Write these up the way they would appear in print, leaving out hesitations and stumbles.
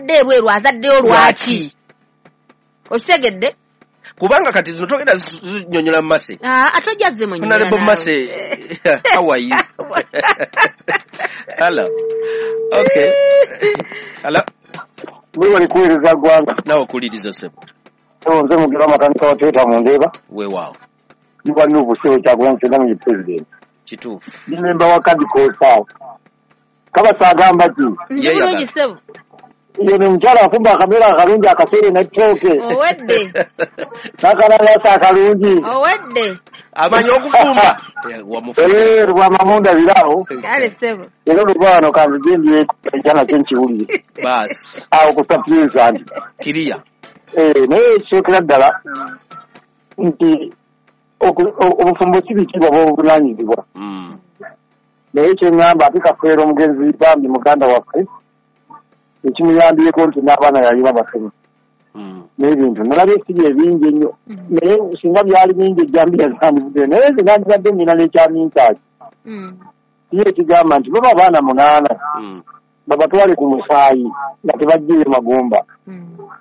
Azadde ebweru, azaddeyo lwaki? Okitegedde? Kubanga kati zino togenda zinyonyola Mase. Ate ojja zimunyonyola. Honorable Mase, how are you? Hello. Okay. Hello. Mwebale kuweereza ggwanga. Nawe okuwuliriza ssebo. Nze Mugerwa makanika wa Toyota mu Ndeeba. Weewaawo. Ndi wa Nuupu ssebo Kyagulanyi Ssentamu ye pulezidenti. Kituufu. Ndi memba wa Kadikosa awo. Kabasa agamba ki? Ndi bulungi ssebo. Ye ne mukyala afumba akamere akalungi akaseere n'ettooke. Owedde. N'akalalaasa akalungi. Owedde. Amanyi okufumba. Lwamamunda biraawo. Kale ssebo. Era oluva wano kanzije ndyeko enkya nakyo nkiwulire. Baasi. Awo ku Sapienza nti. Kiriya. Naye ekisookera ddala nti obufumbo si bitiibwa bw'obuvunaanyizibwa. Naye kye ŋŋamba ate Kafeero omugenzi bambi muganda waffe ekimuyambyeko nti n'abaana yalina basoma. N'ebintu nalabye si bye bingi ennyo, naye singa byali bingi ejjambiya zandivuddeyo, naye nze nandibadde nnina n'ekyamintaaki. Ye ekigamba nti baba abaana 8 babatwale ku musaayi nga tebajjiye magumba.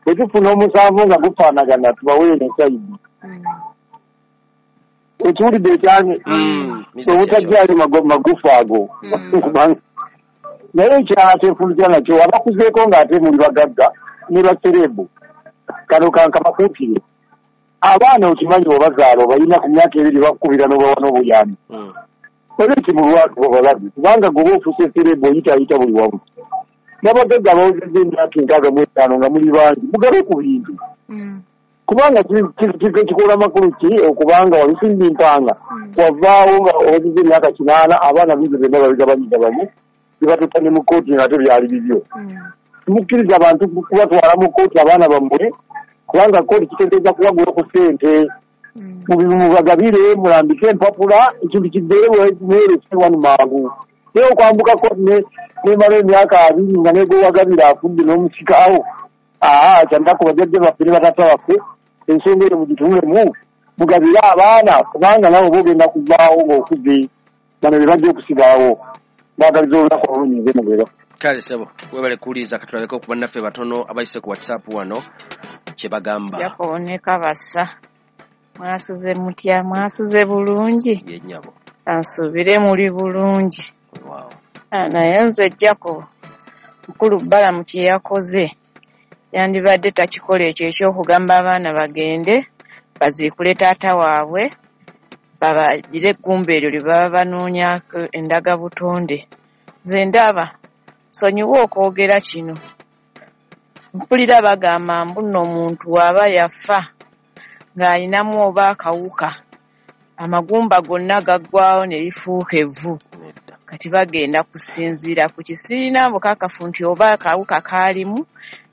Bwe tufuna omusanvu nga gufaanagana tubaweere ensayidi. Ekiwulidde ekyange obutajjaayo magufa ago. Naye ekyakyefuulira nakyo abakuzeeko ng'ate muli bagagga ne baserebu kano kankabakuukire. Abaana okimanyi obazaala obalina ku myaka 2 bakukubira n'obawa n'obuyambi. Olwekyo mu lwatu babalabi kubanga gwe oba ofuuse serebu oyitaayita buli wamu. N'abagagga abawezezza emyaka 65 nga muli bangi mugabe ku bintu. Kubanga kikola makulu ki okubanga walusimba empanga wavaawo nga owezezza emyaka 8 abaana bintu byonna babigabanyigabanye bibatuta ne mu kkooti ng'ate byali bibyo. Mukkiriza abantu kubatwala mu kkooti abaana bammwe kubanga kkooti kitegeeza kubagula ku ssente. Mubagabire mulambike empapula ekintu kiddeyo mwerese wano mangu. Naye okwambuka kkooti nemala emyaka 20 nga negwewagabira afudde n'omusikaawo. Kyannaku bajjajja baffe ne bataata baffe ensonga eyo mugitunulemu mugabire abaana kubanga nabo bogenda kuvaawo ng'okuze bano be bajja okusigalawo. Baagaliza olunaku olulungi nze Mugerwa. Kale ssebo, webale kuwuliriza. Katulabeko ku bannaffe batono abayise ku WhatsApp wano kye bagamba. Jacob ne Kabasa, mwasuze mutya? Mwasuze bulungi? Ye nnyabo. Ansuubire muli bulungi. Wow. Naye nze Jacob, mukulu Balamu kye yakoze yandibadde takikola ekyo eky'okugamba abaana bagende baziikule taata waabwe babagire eggumba eryo lye baba banoonyaako endagabutonde. Nze ndaba nsonyiwa okwogera kino. Mpulira bagamba mbu nno omuntu bw'aba yafa ng'alinamu oba akawuka, amagumba gonna gaggwawo ne lifuuka evvu. Kati bagenda kusinziira ku kisiina bukakafu nti oba akawuka kaalimu,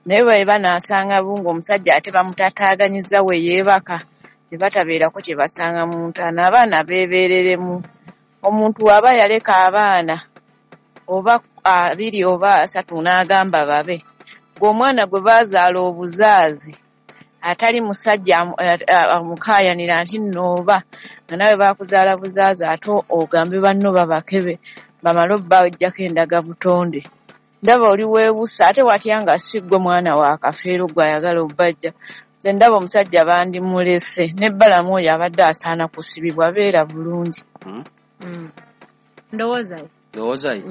naye bwe banaasanga bunga omusajja ate bamutataaganyizza we yeebaka ne batabeerako kye basanga mu ntaana, abaana beebeereremu. Omuntu bw'aba yaleka abaana oba 2 oba 3 n'agamba babe, gwe omwana gwe baazaala obuzaazi atali musajja amukaayanira nti nno oba nga nawe baakuzaala buzaazi ate ogambe banno babakebe bamale obbajjako endagabutonde. Ndaba oli weewusa ate watya nga si ggwe mwana wa Kafeero gwe ayagala obbajja. Nze ndaba omusajja bandimulese ne Balamu oyo abadde asaana kusibibwa beera bulungi. Ndowoozayo. Ndowoozayo?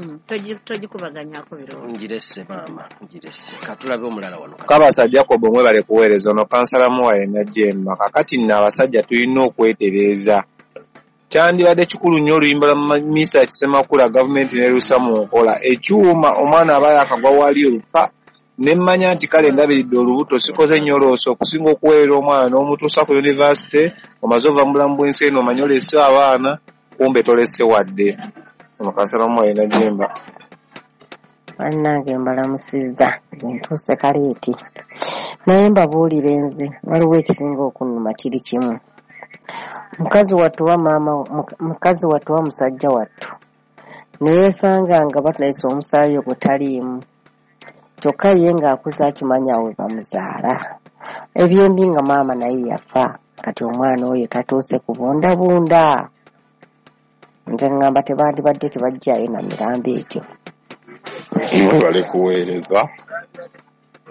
Togikubaganyako birowoozo. Ngirese maama, ngirese. Katulabe omulala wano. Kabasa Jacob mwebale kuweereza. Ono kansala Muwaye Najjemba. Kakati nno abasajja tulina okwetereeza. Kyandibadde kikulu nnyo oluyimba lwa Misa Kisemakula gavumenti n'erussa mu nkola. Ekyuma omwana aba yakagwa wali olupa ne mmanya nti kale ndabiridde olubuto sikoze nnyo looso okusinga okuweerera omwana n'omutuusa ku yunivasite omaze ova mu bulamu bw'ensi eno omanye olese abaana kumbe tolese wadde. Ono kansala Muwaye Najjemba. Bannange mbalamusizza, nze ntuuse kaleeti. Naye mbabuulire nze waliwo ekisinga okunnuma kiri kimu. Mukazi wattu wa maama, mukazi wattu wa musajja wattu ne yeesanga nga batulayisa omusaayi ogwo taliimu. Kyokka ye ng'akuze akimanya we bamuzaala. Ebyembi nga maama naye yafa, kati omwana oyo tatuuse kubundabunda. Nze ŋŋamba tebandibadde tebajjaayo na mirambo egyo. Mwebale kuweereza.